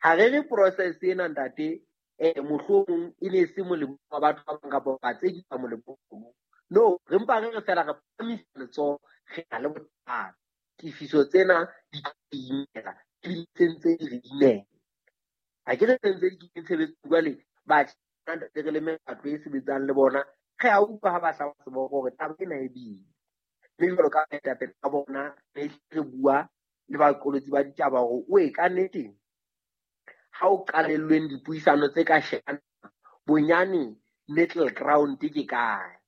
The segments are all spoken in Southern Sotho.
Ha re re process ena ntate, mohlomong e ne se molemo wa batho ba bang kapa ba tse ding molemo. No, re mpa re re fela re phahamisa letsoho, re na le bothata. Tifiso tsena di tlo imela, ebile se ntse di re imela. Ha ke re se ntse di kene tshebetsong jwale, batjha ntate re le mekgatlo e sebetsang le bona, re a utlwa ha ba hlaba seboko hore taba ena e boima. Mme jwalo ka baetapele ba bona, re re bua le baqolotsi ba ditaba hore o e ka nnete ha o qalellweng dipuisano tse ka shebana bonyane middle ground ke kae.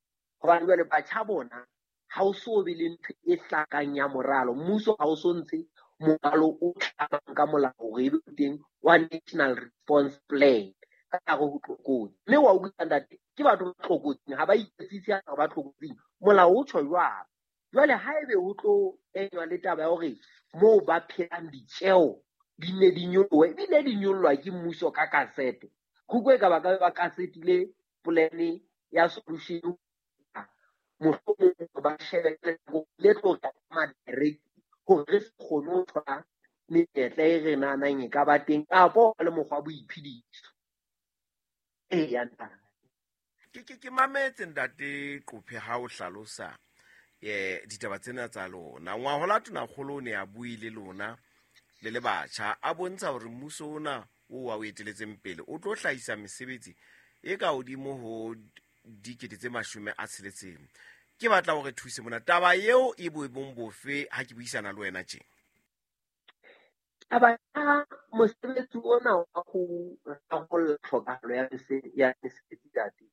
Hobane jwale batjha bona ha o so be le ntho e hlakang ya moralo. Mmuso ha o so ntshe moralo o tlamang ka molao hore ebe teng wa National Response Plan ka hare ho tlokotsi. Mme wa utlwa ntate, ke batho ba tlokotsing, ha ba iketsise ha ba tlokotsing. Molao o tjho jwalo. Jwale ha ebe ho tlo kenywa le taba ya hore moo ba phelang ditjeo di ne di nyolohe, ebile di nyollwa ke mmuso ka kasete. Kgukwe e ka ba ka ba kasetile plan ya solution, mohlomong ba shebe le tlo tla direct hore re se kgone ho thola menyetla e re nahanang e ka ba teng kapo le mokgwa wa boiphediso. Eya, ntate. Ke mametse ntate Qophe ha o hlalosa ditaba tsena tsa lona. Ngwahola Tonakgolo o ne a bue le lona le le batjha, a bontsha hore mmuso ona o wa o eteletseng pele o tlo hlahisa mesebetsi e ka hodimo ho 60,000. Ke batla hore thuse mona taba eo e boemong bofe ha ke buisana le wena tje? Taba ya mosebetsi ona wa ho rarolla tlhokahalo ya mesebetsi ntate,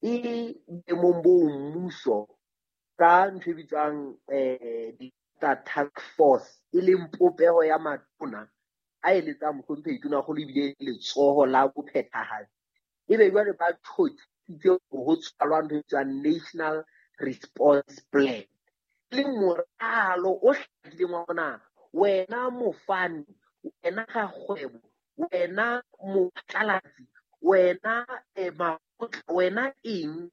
e boemong bo mmuso ka ntho e bitswang task force, e leng popeho ya matona a eletsang mohlomphehi Tonakgolo ebile letsoho la bophethahatsi. Ebe jwale ba tjhotjhisitse ho tshwalwa ntho e bitswang National Response Plan, e leng moralo o hlakileng wa hore na wena mofani, wena rakgwebo, wena mophatlalatsi, wena makgotla, wena eng,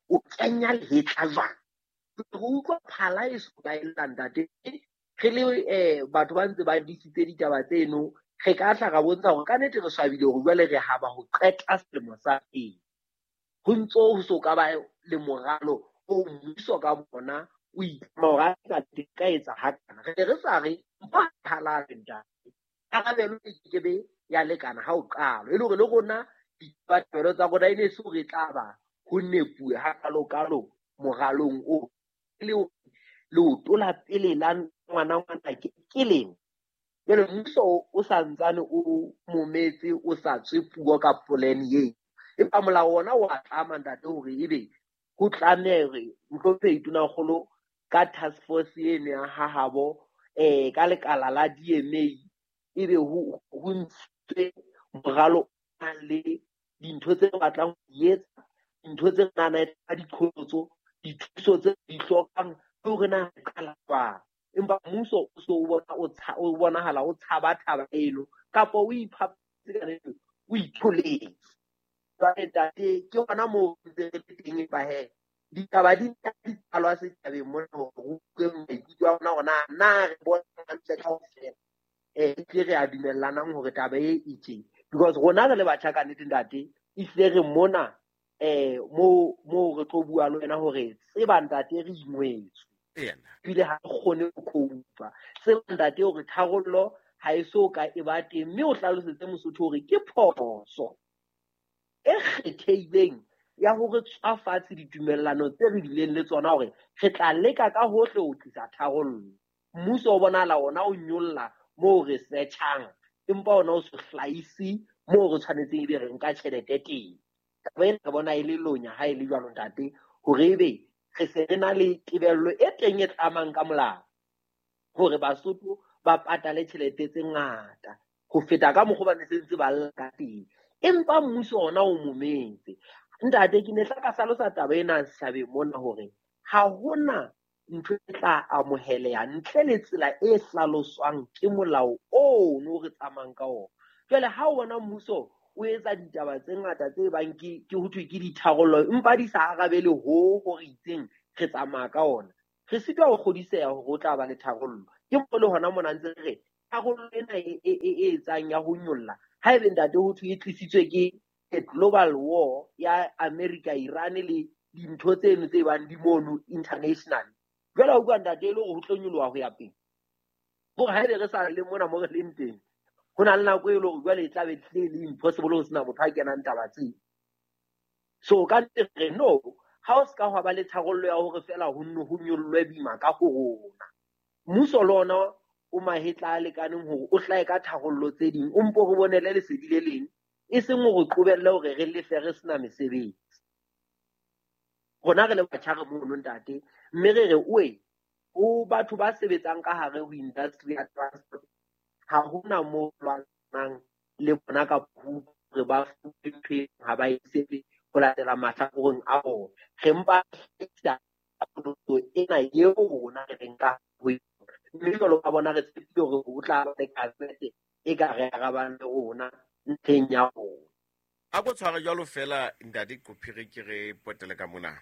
o kenya lehetla jwang? Re utlwa phala e so ka e lla ntate. Re le batho ba ntse ba disitse ditaba tseno, re ka tla ra bontsha hore ka nnete re swabile hore jwale re haba ho qeta selemo sa pele. Ho ntso ho so ka ba le moralo o mmuso ka bona o itlama hore a ka ka etsa hakana. Re ne re sa re mpa halale ntate. Karabelo e kekebe ya lekana ha o qala. E le hore le rona ditabatabelo tsa rona e ne se hore e tla ba ho nepuwe hakalo-kalo moralong o. E le hore leoto la pele la ngwana ngwana ke leng. Jwale mmuso o sa ntsane o mometse, o sa tswe puo ka plan eo. Empa molao ona wa tlama ntate hore ebe ho tlameha hore mohlomphehi Tonakgolo ka task force eno ya hahabo, ka lekala la DMA, ebe ho ntshitswe moralo o nang le dintho tse re batlang ho di etsa, dintho tse re nahanang ka diqholotso, dithuso tse di hlokang, le hore na re qala jwang. Empa mmuso o so o bona o o bonahala o tshaba taba eno, kapa o iphapetse ka nnete, o itholetse. Jwale ntate, ke hona moo ntse re le teng, empa he, ditaba di nka di qalwa setjhabeng mona hore re utlwe maikutlo a rona hore na re bona hantle kaofela. Ehlile re a dumellanang hore taba e e tje. Because rona re le batjha ka nnete ntate, ehlile re mona, moo re tlo bua le wena hore tseba ntate re ingwetswe. Ebile ha re kgone ho cope-a. Tseba ntate hore tharollo ha e so ka e ba teng, mme o hlalosetse Mosotho hore ke phoso e kgethehileng ya hore tswa fatshe ditumellano tse re bileng le tsona hore re tla leka ka hohle ho tlisa tharollo. Mmuso o bonahala ona o nyolla moo re search-ang, empa ona o se hlahise moo re tshwanetseng ebe re nka tjhelete teng. Taba ena re bona e le lonya ha e le jwalo ntate, hore ebe re se re na le tebello e teng e tlamang ka molao hore Basotho ba patale tjhelete tse ngata ho feta ka mokgwa ba ne se ntse ba lla ka teng. Empa mmuso ona o mometse. Ntate, ke ne tla ka hlalosa taba ena setjhabeng mona hore ha hona ntho e tla amoheleha ntle le tsela e hlaloswang ke molao ono re tsamayang ka ona. Jwale ha o bona mmuso o etsa ditaba tse ngata tse bang ke ho thwe ke ditharollo, empa di sa arabele ho hore itseng re tsamaya ka ona, re sitwa ho kgodiseha hore o tla ba le tharollo. Ke mo le hona mona ntse re re Tharollo ena e etsang ya ho nyolla, haebe ntate ho thwe e tlisitswe ke global war ya America, Iran le dintho tseno tse bang di mono international. Jwale ha o bua ntate e le hore ho tlo nyoloha ho ya pele. Hore haebe re sa le mona mo re leng teng, ho na le nako e le hore jwale e tla be hlile e le impossible ho sena motho a kenang taba tseo. So ka nnete re no, ha o ska hwa ba le tharollo ya hore fela ho nne ho nyollwe boima ka ho rona. Mmuso le ona o mahetla a lekaneng hore o hlahe ka tharollo tse ding, o mpo re bonele lesedi le leng, e seng hore qobelle hore re lefe re sena mesebetsi. Rona re le batjha re mono ntate, mme re re oe ho batho ba sebetsang ka hare ho industry ya transport, ha hona moo lwanang le bona ka hore ba fuwe ntho e ha ba e tsebe ho latela mahlakoreng a bona. Re mpa hlahisa ena eo rona re reng ka ho yona. Mme jwalo ka bona re tshepile hore ho tla ba le kabinete e ka re arabang le rona ntlheng ya rona. A ko tshware jwalo fela ntate Qophiri, ke re potele ka mona.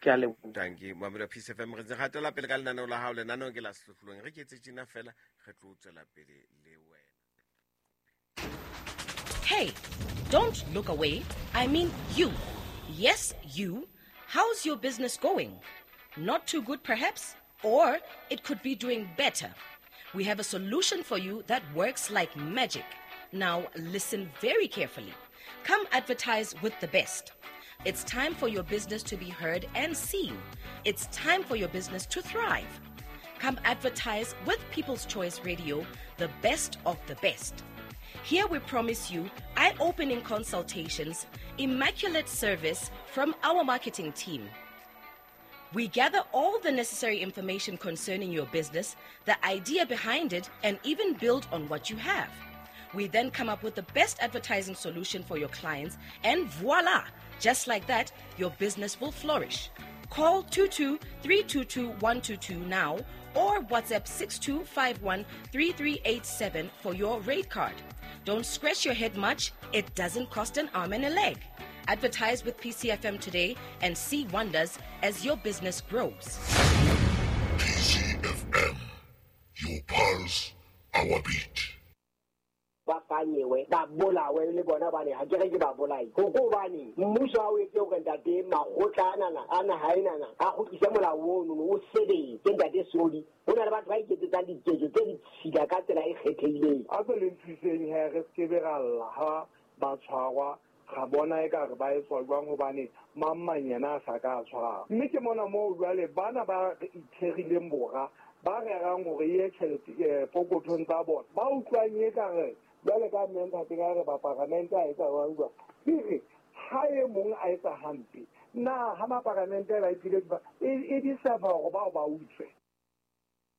Ke a leboha. Dankie, Mamelo Peace FM. Re ntse re hatela pele ka lenaneo la hao. Lenaneo ke la Sehlohlolong. Re ke etse tjena fela, re tlo tswela pele le wena. Hey, don't look away. I mean you. Yes, you. How's your business going? Not too good, perhaps? Or it could be doing better. We have a solution for you that works like magic. Now, listen very carefully. Come advertise with the best. It's time for your business to be heard and seen. It's time for your business to thrive. Come advertise with People's Choice Radio, the best of the best. Here we promise you eye-opening consultations, immaculate service from our marketing team. We gather all the necessary information concerning your business, the idea behind it, and even build on what you have. We then come up with the best advertising solution for your clients, and voila! Just like that, your business will flourish. Call 22-322-122 now or WhatsApp 6251-3387 for your rate card. Don't scratch your head much. It doesn't cost an arm and a leg. Advertise with PCFM today and see wonders as your business grows. PCFM, your pulse, our beat. Ba fanyewe, ba bolawe le bona bane, ha ke re ke ba bolai. Ho ko bane, mmuso ha o etse hore ntate makgotla anana, a naha enana, a kgutlise molao ono, o sebetse ntate Sodi. Ho na le batho ba iketsetsang diketso tse ditshila ka tsela e kgethehileng. A ko le nthuseng he, re skebe ra lla ha ba tshwarwa, ra bona ekare ba etswa jwang hobane mang mang yena a sa ka tshwarwa. Mme ke mona moo jwale bana ba itherileng bora, ba rerang hore e tjhelete pokothong tsa bona. Ba utlwang ekare jwale ka mme ntate ka re ba paramente a etsa jwang jwang. Ke re, ha e mong a etsa hampe, na ha maparamente ba iphile e di serve hore bao ba utswe.